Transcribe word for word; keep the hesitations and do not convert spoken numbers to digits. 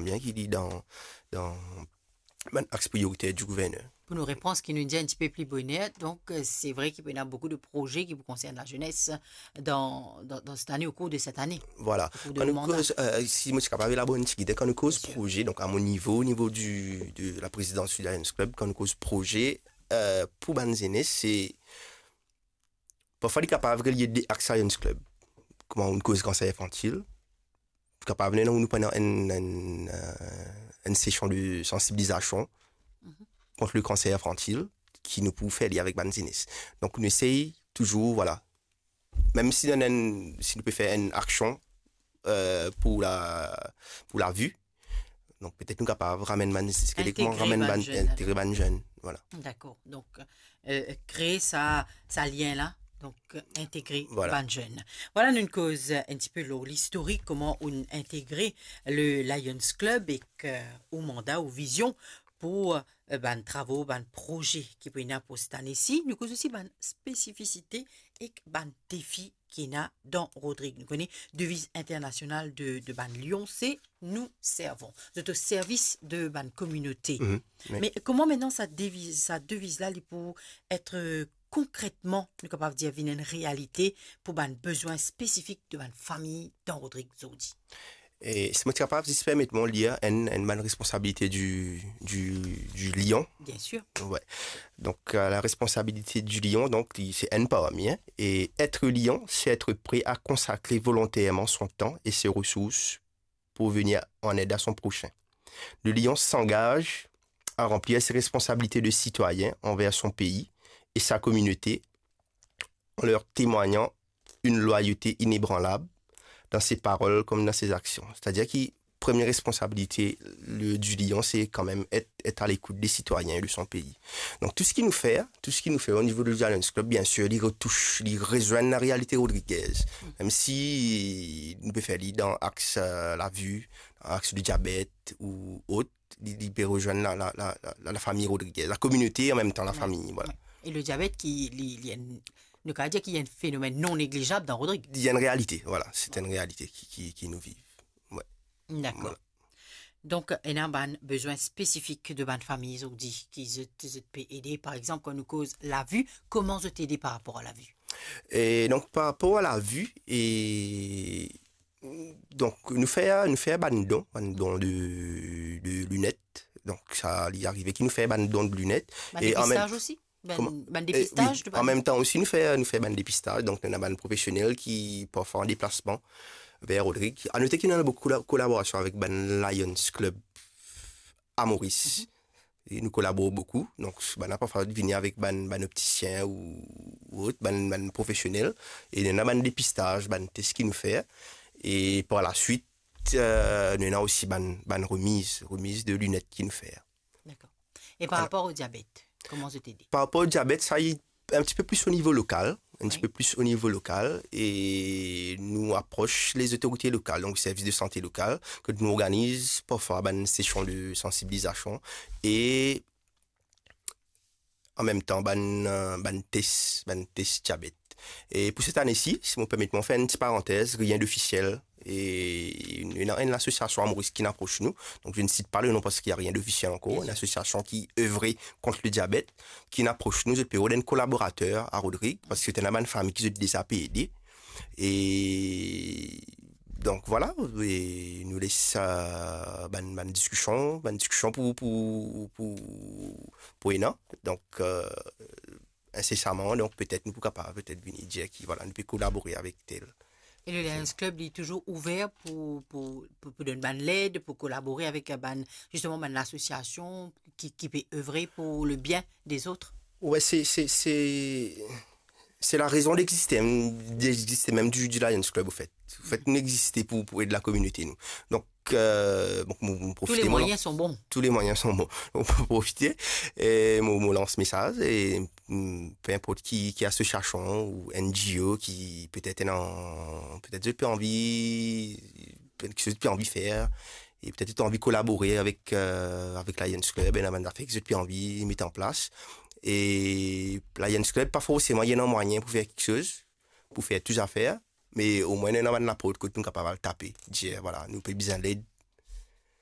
bien ki li dan, dan bann aks priyoriter di gouverner. Pou nou repran seki nou dir enn tipe pli boner, donk, euh, se vre ki pou ena boukou de proze ki pou konsern lazenes dan, dan, dan set ane, o kour de set ane. Vwala. O kour de manda. Kan nou koz, euh, si mo ti kapav elabor enn tigit, kan nou koz proze, donk a mo nivo, o nivo di, de la prezidans di Lions Club, kan nou koz proze, euh, pou bann zenes, se parfwa li kapav relie de aks Lions Club. Kouma nou koz kanser infantil, kapav ena nou pran enn, enn, euh, enn sesion de sansibilizasion kont le kanser infantil ki nou pou fer li avek bann zenes. Donk nou esey touzour, vwala, mem si nou ena enn, si nou pe fer enn aksion, euh, pou la, pou lavi, donk petet nou kapav ramenn bann, kouma ramenn bann, integre bann zenn, vwala. Dakor. Donk, euh, kree sa, sa lien la, donk, euh, integre bann zenn. Vwala, nou koz, euh, enn tipe lor listorik, kouma ou integre le Lions Club ek, euh, ou manda, ou vizion pou, euh, bann travo, bann proze ki pou ena pou set ane si. Nou koz osi bann spesifisite ek bann defi ki ena dan Rodrig. Nou kone deviz internasional de, de bann Lion, se "Nous servons". Zot o servis de bann kominote. Me kouma aster sa deviz, sa deviz la, li pou et, euh, konkretman, nou kapav dir, vinn enn realite pou bann bezwin spesifik de bann fami dan Rodrig zordi? E si mo ti kapav zis permet mwa lir enn, enn bann responsabilite di, di, di Lion. Bien sûr. Ouais. Donc, euh, la responsabilité du lion, donc, li, c'est enn parmi, hein. Et être lion, c'est être prêt à consacrer volontairement son temps et ses ressources pour venir en aide à son prochain. Le lion s'engage à remplir ses responsabilités de citoyen envers son pays et sa communauté en leur témoignant une loyauté inébranlable dans ses paroles comme dans ses actions. C'est-à-dire ki premie responsabilite le, du lion, c'est quand même être, être à l'écoute des citoyens et de son pays. Donc, tout ce ki nou fer, tout ce ki nou fer au niveau du Lions Club, bien sûr, li retouche, li rezoinn la réalité rodriguez. Même si nou pe fer li dan aks, euh, lavi, dan aks le diabet ou autre, li, li pe rezoinn la, la, la, la, la, la fami rodriguez, la kominote, an mem tan la fami, vwala. Ouais. E le diabet ki, li, li enn, nou kapav dir ki enn fenomenn non neglizab dan Rodrig. Li enn realite, vwala. C'est une réalité ki, ki, ki nou viv. Ouais. Dakor. Vwala. Donk, ena bann bezwin spesifik de bann fami, zordi, ki zot, zot pe ede. Par exanp, kan nou koz lavi, kouma zot ede par rapor a lavi? E donk, par rapor a lavi, e donk, nou fer, nou fer bann don, bann don de, de linet. Donk, sa, li arive ki nou fer bann don de linet. Bann depistaj osi? Bann, kouma? Bann depistaj de bann... Wi, an mem tan osi, nou fer, nou fer bann depistaj. Donk, nou ena bann profesionel ki, parfwa, an deplasman ver Rodrig. A note ki nou ena boukou kola-, kolaborasion avek bann Lions Club a Moris. E nou kolabor boukou. Donk, bann la parfwa vini avek bann, bann optisien ou, ou ot, bann, bann profesionel. E nou ena bann depistaj, bann tes ki nou fer. E par laswit, euh, nou ena osi bann, bann remiz, remiz de linet ki nou fer. Dakor. E par rapor o diabet, kouma zot ede? Par rapor o diabet, sa, li enn tipe plis o nivo lokal, enn tipe plis o nivo lokal, e nou apros lezotorite lokal, donk servis de sante lokal, kot nou organiz parfwa bann sesion de sansibilizasion e an mem tan bann, euh, bann tes, bann tes diabet. E pou set ane si, si mo permet mwa fer enn ti parantez, rien d'officiel, e ena enn lasosiasion a Moris ki inn apros nou. Donc, je ne cite pas le nom parce qu'il y a rien d'officiel encore. Bien sûr. Enn lasosiasion ki evre kont le diabet, ki inn apros nou, zot pe rod enn kolaborater a Rodrig, parski ena bann fami ki zot deza pe ede. E donk, vwala, e nou les, euh, bann, bann diskision, bann diskision pou, pou, pou, pou ena. Donk, euh, insesaman, donk, petet nou pou kapav petet vini dir ki, vwala, nou pe kolabore avek tel. E le Lions Club, li touzour ouver pou, pou, pou, pou donn bann led, pou kolabore avek bann, zisteman, bann lasosiasion ki, ki pe evre pou le bien des autres? Ouais, se, se, se, se la rezon d'existe, hein, d'existe mem du, du Lions Club, au fait. Au fait, nou existe pou, pou ed lakominote, nou. Donk, euh, donk, mo, mo profite, mo lan-, tous les moyens sont bons. Tous les moyens sont bons. Mo profite, e mo, mo lans mesaz, e, mm, pe inport ki, ki asosiasion ou N G O ki petet ena, petet zot pe anvi, petet ki zot pe anvi fer, e petet zot anvi kolabore avek, euh, avek Lions Club, ena bann zafer ki zot pe anvi met an plas. E Lions Club, pa forseman ena mwayin pou fer kiksoz, pou fer tou zafer, me omwin ena bann laport kot nou kapav al tape, dir, vwala, nou pe bizin led